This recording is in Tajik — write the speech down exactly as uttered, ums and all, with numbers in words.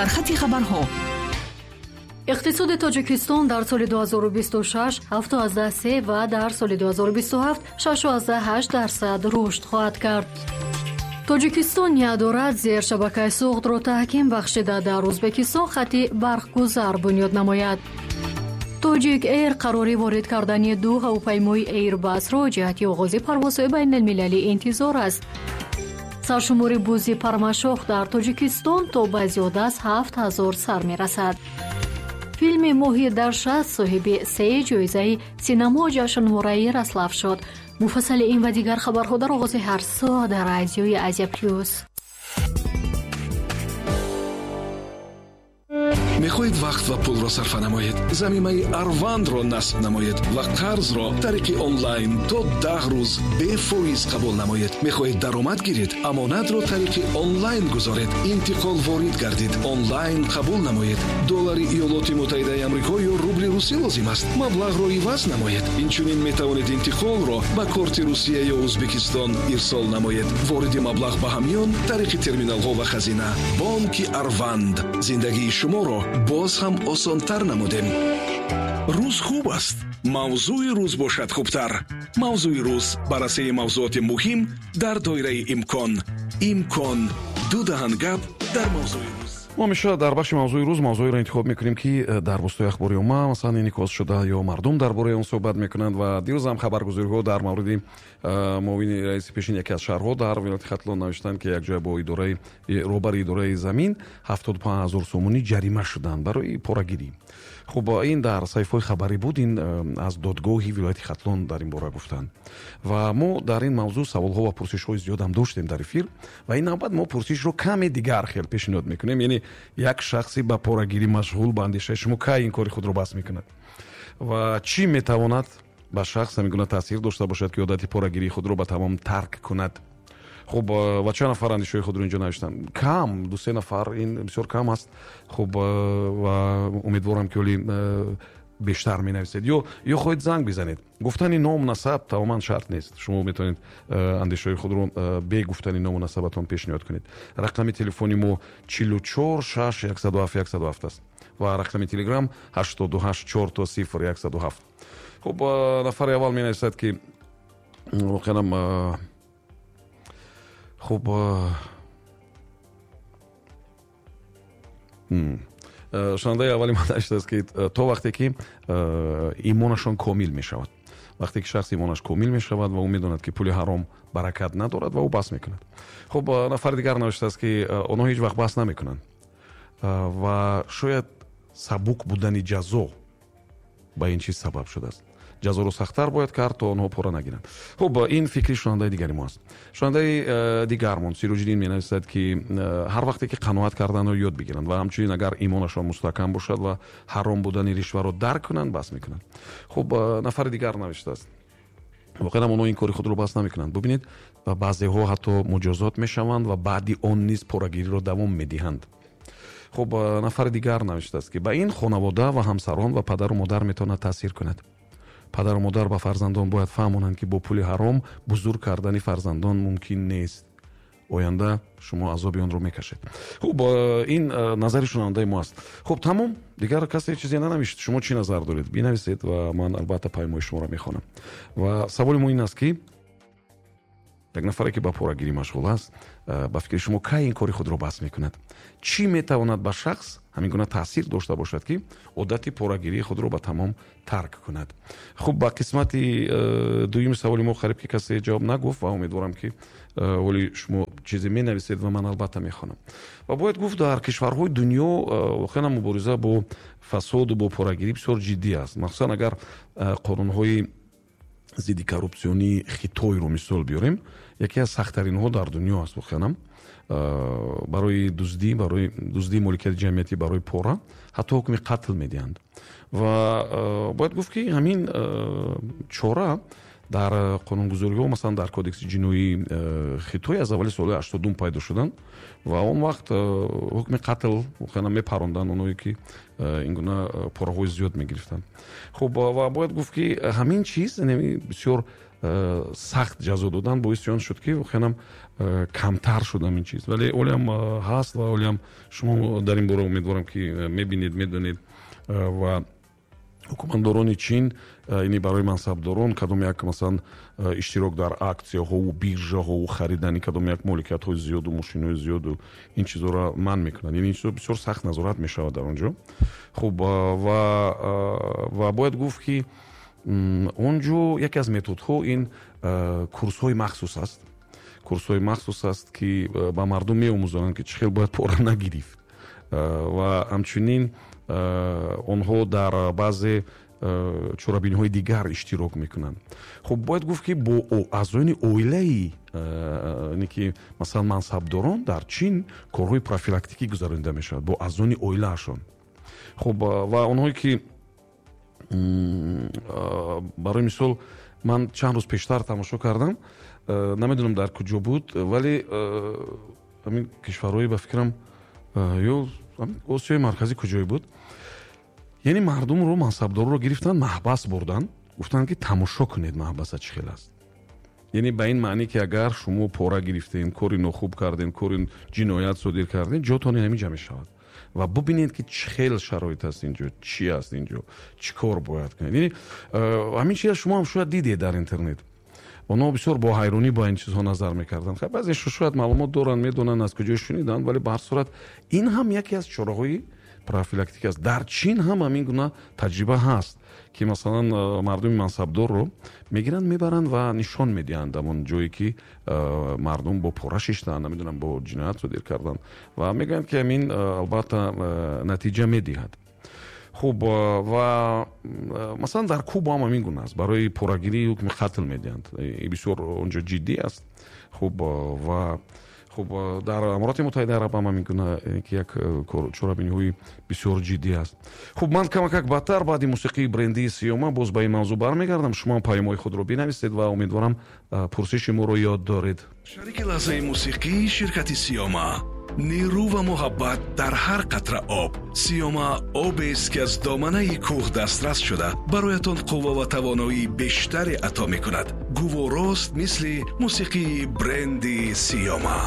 Сархати хабарҳо. Иқтисоди Тоҷикистон дар соли ду ҳазору бисту шаш ҳафту аздаҳ се ва дар соли ду ҳазору бисту ҳафт шашу аздаҳ ҳашт дарсад рушд хоҳад кард. Тоҷикистон ният дорад зершабакаи Суғдро таҳким бахшида дар Ӯзбекистон хати барқгузар бунёд намояд. Тоҷик Эйр қарори ворид кардани ду ҳавопаймои Эйрбасро ҷиҳати оғози парвозҳои байналмилалӣ интизор аст. Саршумори бузи пармашох дар Тоҷикистон то ба зиёда аз ҳафт ҳазор сар мерасад. Филми моҳи дар шаст соҳиби се ҷоизаи синамо ҷашнвораи Ярослав шуд. Муфассали ин ва дигар хабарҳо дар оғози ҳар соат дар радиои Азия Плюс. Мехоҳед вақт ва пулро сарфа намоед? Замимаи Арвандро насб намоед ва қарзро тариқи онлайн то даҳ рӯз бефоиз қабул намоед. Мехоҳед даромад гиред? Амонатро тариқи онлайн гузоред. Интиқол ворид гардид. Онлайн қабул намоед. Доллари Иёлоти Муттаҳидаи Амрико ё рубли русӣ лозим аст. Маблағро иваз намоед. Инчунин метавонед интиқолро ба корти Русия ё Ӯзбекистон ирсол намоед. Вориди маблағ ба ҳамён тариқи терминалҳо ва хазина. Бонки Арванд. Зиндагии шуморо боз ҳам осонтар намудем. Рӯз хуб аст. Мавзӯи рӯз бошад хубтар. Мавзӯи рӯз баррасии мавзӯоти муҳим дар доираи имкон. Имкон ду даҳан гап дар мавзӯи рӯз. Мо ҳамеша дар бахши мавзӯи рӯз мавзӯеро интихоб мекунем, ки дар васоити ахбори омма масалан инъикос шуда ё мардум дар бораи он суҳбат мекунанд. Ва дирӯз ҳам хабаргузориҳо дар мавриди муовини раиси пешини яке аз шаҳрҳо дар вилояти Хатлон навиштанд, ки якҷоя бо идораи роҳбари идораи замин ҳафтоду панҷ ҳазор сомонӣ ҷарима шуданд барои порагирӣ. Хуб, ин дар саҳифаҳои хабарӣ буд, ин аз додгоҳи вилояти Хатлон дар ин бора гуфтанд. Ва мо дар ин мавзӯъ саволҳо ва пурсишҳои зиёд ҳам доштем дар эфир ва ин навбат мо пурсишро каме дигар хел пешниҳод мекунем. Яъне як шахси ба порагирӣ машғул ба андешаи шумо кай ин кори худро бас мекунад ва чӣ метавонад ба шахс ҳамин гуна таъсир дошта бошад, ки одати порагирии худро ба тамом тарк кунад. Хуб, ва чанд нафар андешаҳои худро инҷо навиштанд? Кам, ду се нафар, ин бисёр кам аст. Хуб, ва умедворам, ки ҳоли бештар менависед ё ё хоҳед занг бизанед. Гуфтани ном насаб тамоман шарт нест. Шумо метавонед андешаҳои худро бе гуфтани ному насабатон пешниҳод кунед. Рақами телефони мо чилу чор шаш яксаду ҳафт яксаду ҳафт аст ва рақами телеграм ҳаштоду ҳашт чор то сифр яксаду ҳафт. Хуб, нафари аввал менависад, ки воқеан хуб, шунандаи аввали ман навиштааст, ки то вақте ки имонашон комил мешавад. Вақте ки шахс имонаш комил мешавад ва ӯ медонад, ки пули ҳаром баракат надорад ва ӯ бас мекунад. Хуб, нафари дигар навиштааст, ки онҳо ҳеҷ вақт бас намекунанд ва шояд сабук будани ҷазо ба ин чиз сабаб шудааст. Ҷазоро сахттар бояд кард, то онҳо пора нагиранд. Хуб, ин фикри шунандаи дигари мо аст. Шунандаи дигармон Сироҷиддин менависад, ки ҳар вақте ки қаноат карданро ёд бигиранд ва ҳамчунин агар имонашон мустаҳкам бошад ва ҳаром будани ришваро дарк кунанд, бас мекунанд. Хуб, нафари дигар навиштааст: воқеан онҳо ин кори худро бас намекунанд. Бубинед, баъзеҳо ҳатто муҷозот мешаванд ва баъди он низ порагириро давом медиҳанд. Хуб, нафари дигар навиштааст, ки ба ин хонавода ва ҳамсарон ва падару модар метавонад таъсир кунад. Падару модар ба фарзандон бояд фаҳмонанд, ки бо пули ҳаром бузург кардани фарзандон мумкин нест. Оянда шумо азоби онро мекашед. Хуб, ин назари шунавандаи мо аст. Хуб, тамом, дигар касе чизе нанавишт. Шумо чӣ назар доред? Бинависед ва ман албатта паймои шуморо мехонам. Ва саволи мо ин аст, ки як нафаре, ки ба порагирӣ машғул аст, ба фикри шумо кай ин кори худро бас мекунад? Чӣ метавонад ба шахс ҳамин гуна таъсир дошта бошад, ки одати порагирии худро ба тамом тарк кунад? Хуб, ба қисмати дуюми саволи мо қариб ки касе ҷавоб нагуфт ва умедворам, ки ҳоли шумо чизе менависед ва ман албатта мехонам. Ва бояд гуфт, дар кишварҳои дунё воқеан мубориза бо фасоду бо порагирӣ бисёр ҷиддӣ аст. Махсусан агар қонунҳои зидди коррупсионии Хитойро мисол биёрем, яке аз сахттаринҳо дар дунё аст. Воқеан барои дуздӣ, барои дуздии моликияти ҷамъиятӣ, барои пора ҳатто ҳукми қатл медиҳанд. Ва бояд гуфт, ки ҳамин чора Дар қонунгузориҳо, масалан дар кодекси ҷиноии Хитой аз аввали соли ҳаштодум пайдо шуданд ва он вақт ҳукми қатл воқеан мепаронданд оное ки ин гуна пораҳои зиёд мегирифтанд. Хуб, ва бояд гуфт ки ҳамин чиз, яъне бисёр сахт ҷазо додан боиси он шуд ки воқеан камтар шуд ҳамин чиз. Вале олиам ҳаст ва олиам шумо дар ин бора умедворам ки мебинед, медонед ва ҳукуматдорони Чин, яъне барои мансабдорон кадом як масалан иштирок дар аксияҳову биржаҳову харидани кадом як моликиятҳои зиёду мошинҳои зиёду ин чизҳоро манъ мекунанд. Яъне ин чизҳо бисёр сахт назорат мешавад дар он ҷо. Хуб, ва ва бояд гуфт ки он ҷо яке аз методҳо ин курсҳои махсус аст. Курсҳои махсус аст ки ба мардум меомӯзонанд ки чӣ хел бояд пора нагирифт. Ва ҳамчунин онҳо дар баъзе чорабиниҳои дигар иштирок мекунанд. Хуб, бояд гуфт ки бо аъзоёни оилаи ки масалан мансабдорон дар Чин корҳои профилактикӣ гузаронида мешавад бо аъзоёни оилаашон. Хуб, ва онҳое ки барои мисол ман чанд рӯз пештар тамошо кардам, намедонам дар куҷо буд, вале ҳамин кишварҳои ба фикрам ё Осиёи Марказӣ куҷое буд, яъне мардумро, мансабдорро гирифтанд, маҳбас бурданд, гуфтанд ки тамошо кунед маҳбаса чӣ хел аст. Яъне ба ин маъне ки агар шумо пора гирифтед, кори нохуб кардед, кори ҷиноят содир кардед, ҷотон ҳамин ҷа мешавад ва бубинед ки чӣ хел шароит аст инҷо, чӣ аст инҷо, чӣ кор бояд кунед. Яъне ҳамин чиза шумо ҳам шояд дидед дар интернет. Онҳо бисёр бо ҳайронӣ ба ин чизҳо назар мекарданд. Хай, баъзеашо шояд маълумот доранд, медонанд, аз куҷо шуниданд, вале ба ҳар сурат ин ҳам яке аз чораҳои профилактика аст. Дар Чин ҳам ҳамин гуна таҷриба ҳаст ки масалан мардуми мансабдорро мегиранд, мебаранд ва нишон медиҳанд ҳамон ҷое ки мардум бо пора шиштанд, намедонам бо ҷиноят содир карданд ва мегӯянд ки ҳамин албатта натиҷа медиҳад. Хуб, ва масалан дар Куба ҳам ҳамин гуна аст. Барои порагирӣ ҳукми қатл медиҳанд. Ин бисёр онҷо ҷиддӣ аст. Хуб, ва хуб дар Аморати Муттаҳидаи Араб ҳам ҳамин гуна ки як чорабиниҳои бисёр ҷиддӣ аст. Хуб, ман камакак баъдтар баъди мусиқии брендии Сиёма боз ба ин мавзӯъ бармегардам. Шумо ҳам паёмҳои худро бинависед ва умедворам пурсиши моро ёд доред. Шарики лаҳзаи мусиқии ширкати Сиёма. Нерӯ ва муҳаббат дар ҳар қатра об. Сиёма обест ки аз доманаи кӯҳ дастрас шуда бароятон қувва ва тавоноии бештаре ато мекунад. Гуворост мисли мусиқии бренди Сиёма.